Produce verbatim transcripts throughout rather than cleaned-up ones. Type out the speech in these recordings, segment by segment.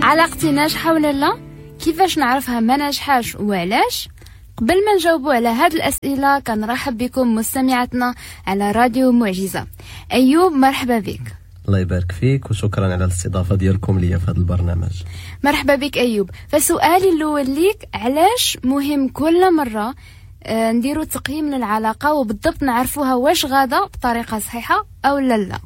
علاقتي ناجحة ولا لا؟ كيفاش نعرفها ما ناجحاش وعلاش؟ قبل ما نجاوبوا على هاد الأسئلة كنرحب بكم مستمعاتنا على راديو معجزة. أيوب مرحبا بك. الله يبارك فيك وشكرا على الاستضافة ديالكم ليا في هذا البرنامج. مرحبا بك أيوب. فسؤالي الأول ليك، علاش مهم كل مرة نديرو تقييم للعلاقة وبالضبط نعرفوها واش غادا بطريقة صحيحة أو لا لا؟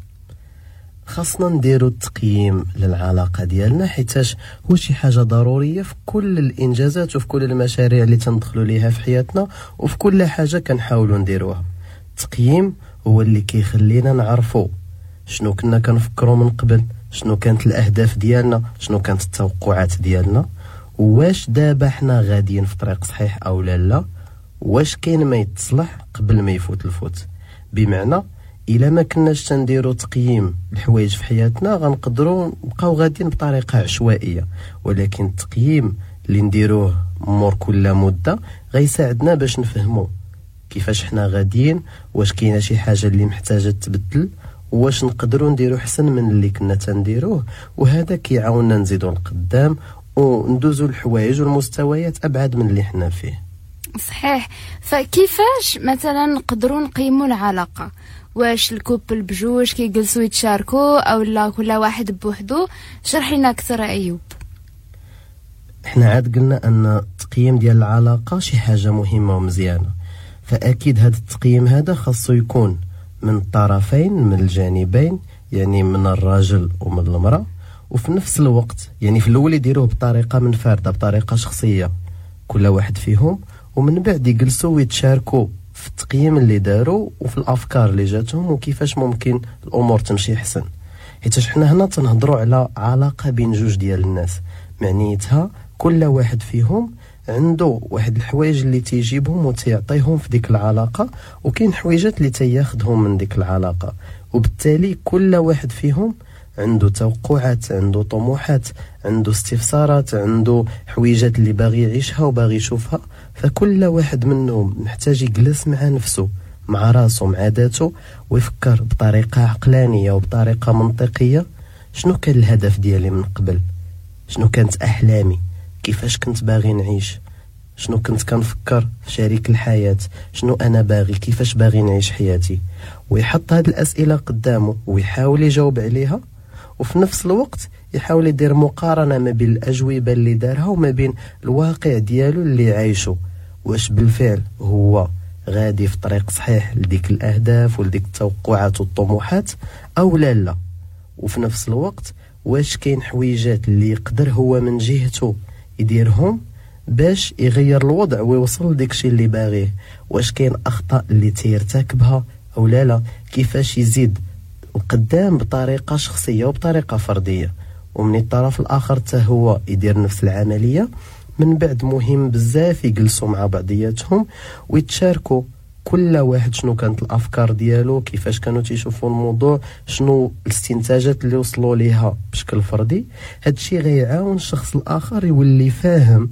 خاصنا نديرو التقييم للعلاقة ديالنا حيتاش هو شي حاجة ضرورية في كل الإنجازات وفي كل المشاريع اللي تندخلوا ليها في حياتنا وفي كل حاجة كنحاولوا نديروها. التقييم هو اللي كيخلينا نعرفوا شنو كنا كنفكروا من قبل، شنو كانت الأهداف ديالنا، شنو كانت التوقعات ديالنا، واش دابا حنا غاديين في طريق صحيح أو لا لا، واش كاين ما يتصلح قبل ما يفوت الفوت. بمعنى الا ما كناش تنديرو تقييم الحوايج في حياتنا غنقدروا نبقاو غاديين بطريقة عشوائية، ولكن التقييم اللي نديروه مور كل مده غيساعدنا باش نفهمو كيفاش حنا غاديين، واش كاينه شي حاجة اللي محتاجه تبدل، واش نقدروا نديرو حسن من اللي كنا تنديروه، وهذا كيعاوننا نزيدو لقدام وندوزو الحوايج والمستويات ابعد من اللي حنا فيه. صحيح. فكيفاش مثلا نقدروا نقيموا العلاقة؟ واش ال couple بجوج كيجلسوا يتشاركوا او لا كل واحد بوحدو؟ شرح لنا اكثر ايوب. احنا عاد قلنا ان التقييم ديال العلاقة شي حاجة مهمة ومزيانه، فاكيد هذا التقييم هذا خاصو يكون من الطرفين، من الجانبين، يعني من الراجل ومن المراة، وفي نفس الوقت يعني في الاول يديروه بطريقة منفردة، بطريقة شخصية كل واحد فيهم، ومن بعد يجلسوا ويتشاركوا في التقييم اللي داروا وفي الافكار اللي جاتهم وكيفاش ممكن الامور تمشي احسن. حيت حنا هنا تنهضروا على علاقة بين جوج ديال الناس، معنيتها كل واحد فيهم عنده واحد الحوايج اللي تيجيبهم وتيعطيهم في ديك العلاقة، وكاين حويجات اللي تياخذهم من ديك العلاقة، وبالتالي كل واحد فيهم عنده توقعات، عنده طموحات، عنده استفسارات، عنده حويجات اللي باغي يعيشها وباغي يشوفها. فكل واحد منهم محتاج يجلس مع نفسه، مع راسه، مع ذاته، ويفكر بطريقة عقلانية وبطريقة منطقية شنو كان الهدف ديالي من قبل، شنو كانت أحلامي، كيفاش كنت باغي نعيش، شنو كنت كنفكر في شريك الحياة، شنو أنا باغي، كيفاش باغي نعيش حياتي، ويحط هاد الأسئلة قدامه ويحاول يجاوب عليها، وفي نفس الوقت يحاول يدير مقارنة ما بين الأجوبة اللي دارها وما بين الواقع ديالو اللي عايشه، واش بالفعل هو غادي في طريق صحيح لديك الأهداف ولديك التوقعات والطموحات أو لا لا، وفي نفس الوقت واش كاين حويجات اللي يقدر هو من جهته يديرهم باش يغير الوضع ويوصل لديك الشيء اللي باغية، واش كاين أخطاء اللي تيرتكبها أو لا لا، كيفاش يزيد القدام بطريقة شخصية وبطريقة فردية. ومن الطرف الآخر حتى هو يدير نفس العملية. من بعد مهم بزاف يجلسوا مع بعضياتهم ويتشاركوا كل واحد شنو كانت الأفكار ديالو، كيفاش كانوا تيشوفوا الموضوع، شنو الاستنتاجات اللي وصلوا ليها بشكل فردي. هادشي غيعاون الشخص الآخر يولي فاهم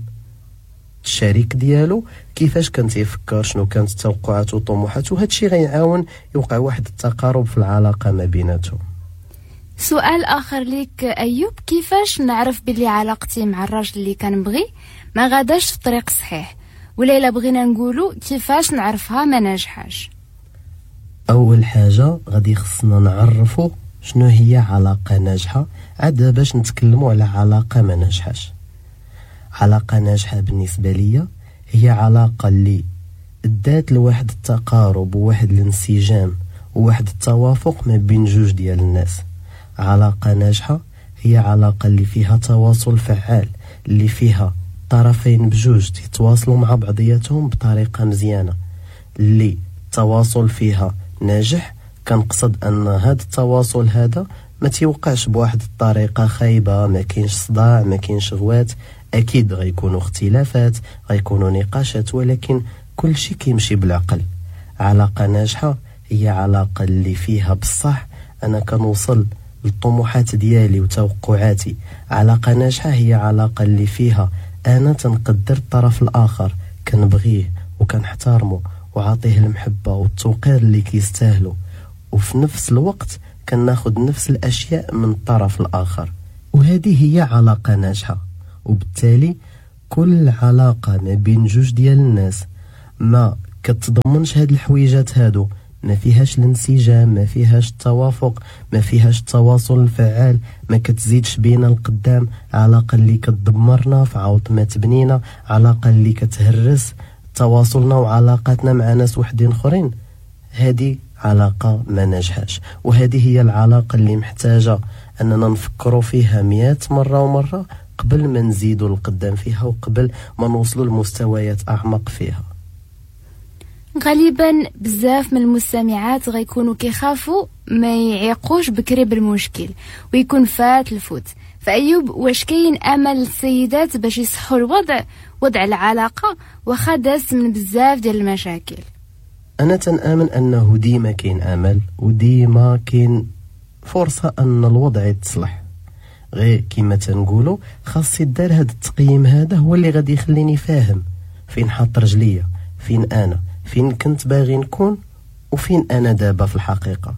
الشريك ديالو كيفاش كان تيفكر، شنو كانت توقعاته وطموحاته، هادشي غيعاون يوقع واحد التقارب في العلاقة ما بيناتهم. سؤال آخر ليك أيوب، كيفاش نعرف بلي علاقتي مع الراجل اللي كنبغي ما غاداش في الطريق الصحيح، ولا إلا بغينا نقولوا كيفاش نعرفها ما ناجحاش؟ أول حاجة غادي خصنا نعرفوا شنو هي علاقة ناجحة عاد باش نتكلموا على علاقة ما ناجحاش. علاقة ناجحة بالنسبة لي هي علاقة اللي ادات لواحد التقارب وواحد الانسجام وواحد التوافق ما بين جوج ديال الناس. علاقة ناجحة هي علاقة اللي فيها تواصل فعال، اللي فيها الطرفين بجوج تتواصلوا مع بعضياتهم بطريقة مزيانة، اللي التواصل فيها ناجح. كنقصد ان هذا التواصل هذا ما تيوقعش بواحد الطريقة خايبة، ما كاينش صداع، ما كاينش غوات، اكيد غيكونوا اختلافات، غيكونوا نقاشات، ولكن كل شيء كيمشي بالعقل. علاقة ناجحة هي علاقة اللي فيها بصح انا كنوصل للطموحات ديالي وتوقعاتي. علاقة ناجحة هي علاقة اللي فيها انا تنقدر الطرف الاخر، كنبغيه وكنحترمه وعاطيه المحبة والتوقير اللي كيستاهلو، وفي نفس الوقت كناخد نفس الاشياء من الطرف الاخر. وهذه هي علاقة ناجحة. وبالتالي كل علاقة ما بين جوج ديال الناس ما كتضمنش هاد الحويجات هادو، ما فيهاش الانسجام، ما فيهاش التوافق، ما فيهاش التواصل الفعال، ما كتزيدش بينا القدام، علاقة اللي كتدمرنا في عوض ما تبنينا، علاقة اللي كتهرس تواصلنا وعلاقاتنا مع ناس وحدين اخرين، هذه علاقة ما ناجحاش. وهذه هي العلاقة اللي محتاجة أننا نفكروا فيها مئة مرة ومرة قبل ما نزيدوا القدام فيها وقبل ما نوصلوا لمستويات أعمق فيها. غالبا بزاف من المستمعات غيكونوا كيخافوا ما يعيقوش بكري بالمشكل ويكون فات الفوت. فأيوب، واش كاين أمل للسيدات باش يصحوا الوضع، وضع العلاقة واخا داز من بزاف ديال المشاكل؟ أنا تنآمن أنه ديما كاين أمل وديما كاين فرصة أن الوضع يتصلح. غير كما تنقولوا خاص يدار هذا التقييم، هذا هو اللي غادي يخليني فاهم فين حاط رجليا، فين أنا، فين كنت باغي نكون، وفين أنا دابا في الحقيقة.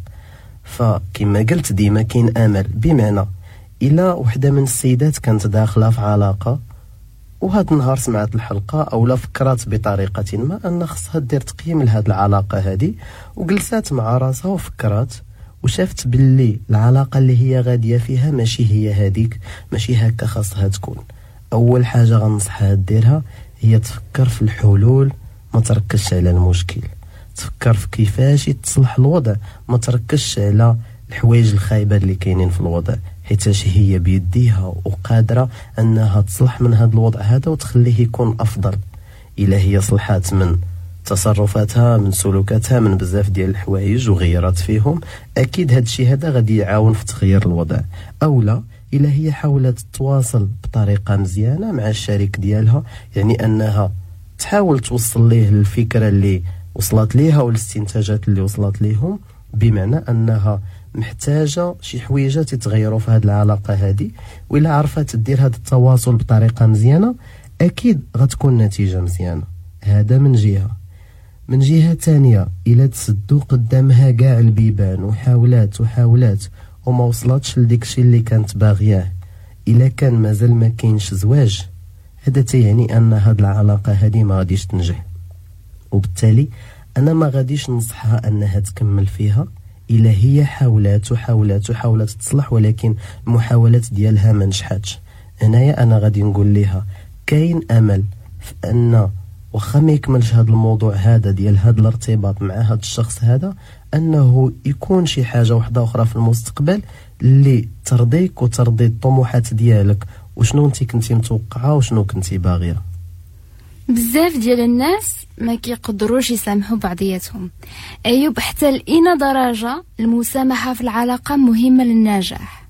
فكما قلت ديما كاين أمل، بمعنى إلا وحدة من السيدات كانت داخلة في علاقة وهاد النهار سمعت الحلقة أو لا فكرت بطريقة ما أن خصها دير تقييم لهاد العلاقة هادي، وجلسات مع راسها وفكرت وشافت باللي العلاقة اللي هي غادية فيها ماشي هي هاديك، ماشي هكا خاصها تكون. أول حاجة غنصحها ديرها هي تفكر في الحلول، ما تركزش على المشكل، تفكر في كيفاش يتصلح الوضع، ما تركزش على الحوايج الخايبة اللي كاينين في الوضع، حيتاش هي بيديها وقادرة أنها تصلح من هذا الوضع هذا وتخليه يكون أفضل. إلا هي صلحات من تصرفاتها، من سلوكاتها، من بزاف ديال الحوايج وغيرات فيهم، أكيد هذا الشيء هذا غادي يعاون في تغيير الوضع. أو لا إلا هي حاولت تتواصل بطريقة مزيانة مع الشريك ديالها، يعني أنها تحاول توصل ليه الفكرة اللي وصلت ليها والاستنتاجات اللي وصلت ليهم، بمعنى أنها محتاجة شي حويجات يتغيروا في هذه العلاقة هذه، وإلا عرفت تدير هذا التواصل بطريقة مزيانة أكيد غتكون نتيجة مزيانة. هذا من جهة. من جهة تانية، إلا تسدو قدامها كاع البيبان وحاولات وحاولات وما وصلتش لديك الشيء اللي كانت باغياه، إلا كان مازال ما كاينش زواج، هذا تيعني أن هذه العلاقة هذه ما غاديش تنجح، وبالتالي أنا ما غاديش ننصحها أنها تكمل فيها إلا هي حاولات وحاولات وحاولات تصلح ولكن المحاولات ديالها ما نجحتش. هنايا أنا غادي نقول لها كاين أمل في أن واخا ما يكملش هذا الموضوع هذا ديال هذا الارتباط مع هذا الشخص هذا، أنه يكون شي حاجة واحدة أخرى في المستقبل اللي ترضيك وترضي الطموحات ديالك وشنو انت كنتي متوقعة وشنو كنتي باغية. بزاف ديال الناس ما كيقدروش يسامحوا بعضياتهم. أيوب، حتى لأين درجة المسامحة في العلاقة مهمة للنجاح؟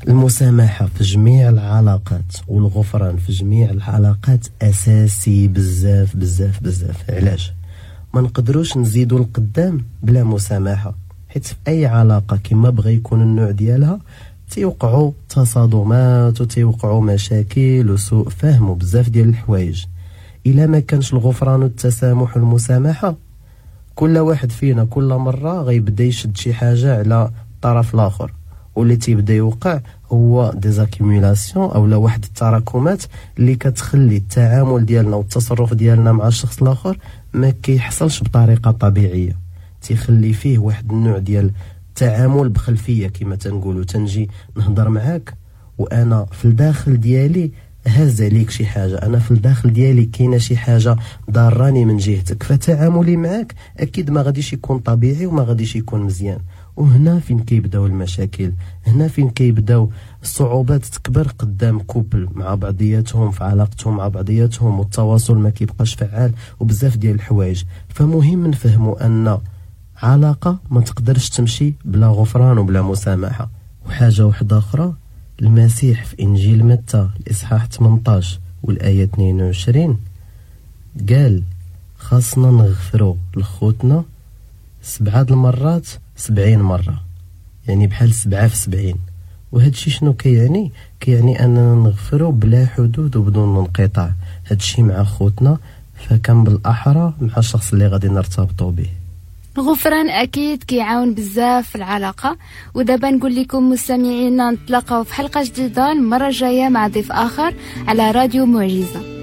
المسامحة في جميع العلاقات والغفران في جميع العلاقات أساسي بزاف بزاف بزاف. علاش؟ ما نقدروش نزيدوا القدام بلا مسامحة، حيت في أي علاقة كما بغى يكون النوع ديالها تيوقعوا تصادمات وتيوقعوا مشاكل وسوء فهم وبزاف ديال الحوايج. إلا ما كانش الغفران والتسامح والمسامحة، كل واحد فينا كل مرة غيبدا يشد شي حاجة على الطرف الآخر، واللي تيبدا يوقع هو des accumulations او لا واحد التراكمات اللي كتخلي التعامل ديالنا والتصرف ديالنا مع الشخص الاخر ما كيحصلش بطريقة طبيعية، تيخلي فيه واحد النوع ديال التعامل بخلفيه كما تنقولوا. تنجي نهضر معاك وانا في الداخل ديالي هاز عليك شي حاجة، انا في الداخل ديالي كاينه شي حاجة ضاراني من جهتك، فتعاملي معاك اكيد ما غاديش يكون طبيعي وما غاديش يكون مزيان. وهنا فين كيبداو المشاكل، هنا فين كيبداو الصعوبات تكبر قدام couple مع بعضياتهم في علاقتهم مع بعضياتهم، والتواصل ما كيبقاش فعال وبزاف ديال الحوايج. فمهم نفهموا ان علاقة ما تقدرش تمشي بلا غفران وبلا مسامحة. وحاجه واحدة اخرى، المسيح في انجيل متى الاصحاح ثمانية عشر والايه اثنين وعشرين قال خاصنا نغفروا لخوتنا سبعة المرات سبعين مرة، يعني بحال سبعة في سبعين. وهادشي شنو كيعني؟ كيعني أننا نغفروا بلا حدود وبدون انقطاع. هادشي مع خوتنا، فكان بالأحرى مع الشخص اللي غادي نرتبطوا به. الغفران اكيد كيعاون بزاف في العلاقة. ودابا نقول لكم مستمعينا، نتلاقاو في حلقة جديدة المرة الجاية مع ضيف اخر على راديو معجزه.